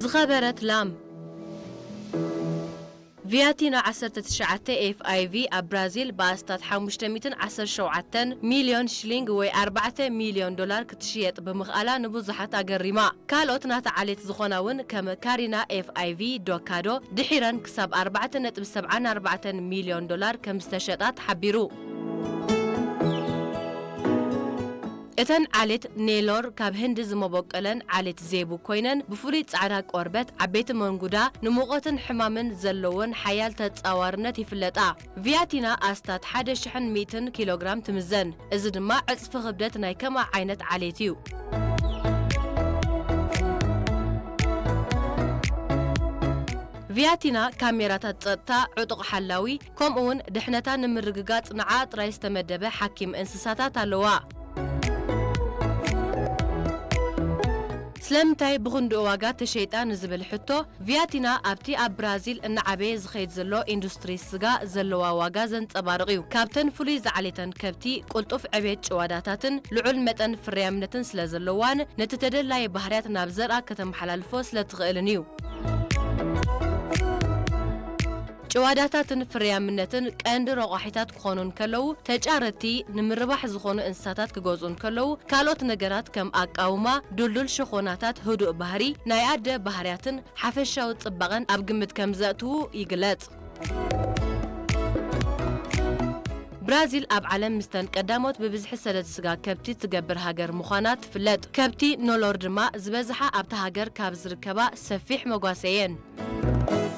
ዝኸበረት ላም። ቪያቲና ዓሰርተ ትሽዓተ ኤፍ ኣይ ቪ ኣብ ብራዚል ብኣስታት ሓሙሽተ ሚእትን ዓሰርተ ሸውዓተን ሚልዮን ሽሊንግ ወይ ኣርባዕተ ሚልዮን ዶላር ክትሽየጥ ብምኽኣላ ንብዙሓት ኣገሪማ። ካልኦት ናታ ዓሌት ዝኾና እውን ከም ካሪና ኤፍ ኣይ ቪ ዶካዶ ድሒረን ክሳብ ኣርባዕተ ነጥቢ ሰብዓን ኣርባዕተን ሚልዮን ዶላር ከም ዝተሸጣ ተሓቢሩ። እተን ዓሌት ኔሎር ካብ ህንዲ ዝመበቆለን ዓሌት ዜቡ ኮይነን ብፍሉይ ጻዕዳ ቆርበት፣ ዓበይቲ መንጉዳ፣ ንሙቐትን ሕማምን ዘለወን ሓያል ተጻዋርነት ይፍለጣ። ቪያቲና ኣስታት ሓደ ሽሕን ሚእትን ኪሎግራም ትምዘን። እዚ ድማ ዕጽፊ ክብደት ናይ ከማ ዓይነት ዓሌት እዩ። ቪያቲና ካሜራታት ጸጥታ፣ ዕጡቕ ሓላዊ፣ ከምኡውን ድሕነታ ንምርግጋጽ ንዓ ጥራይ ዝተመደበ ሓኪም እንስሳታት ኣለዋ። ስለምንታይ ብኽንድኡ ዋጋ ተሸይጣ ንዝብል ሕቶ፣ ቪያቲና ኣብቲ ኣብ ብራዚል እናዓበየ ዝኸይድ ዘሎ ኢንዱስትሪ ስጋ ዘለዋ ዋጋ ዘንጸባርቕ እዩ። ካብተን ፍሉይ ዝዓሌተን ከብቲ፣ ቅልጡፍ ዕቤት ጭዋዳታትን ልዑል መጠን ፍርያምነትን ስለ ዘለዋን፣ ነቲ ተደላየ ባህርያት ናብ ዘርኣ ከተመሓላልፎ ስለ ትኽእልን እዩ። ጭዋዳታትን ፍርያምነትን ቀንዲ ረቋሒታት ክኾኑ እንከለዉ፣ ተጫረቲ ንምርባሕ ዝኾኑ እንስሳታት ክገዝኡ እንከለዉ፣ ካልኦት ነገራት ከም ኣቃውማ፣ ድልዱል ሸኾናታት፣ ህዱእ ባህሪ፣ ናይ ኣደ ባህርያትን ሓፈሻዊ ጽባቐን ኣብ ግምት ከም ዘእትዉ ይግለጽ። ብራዚል ኣብ ዓለም ምስተን ቀዳሞት ብብዝሒ ሰደድ ስጋ ከብቲ ትገብር ሃገር ምዃና ትፍለጥ። ከብቲ ኖሎር ድማ ዝበዝሓ ኣብታ ሃገር ካብ ዝርከባ ሰፊሕ መጓሰ እየን።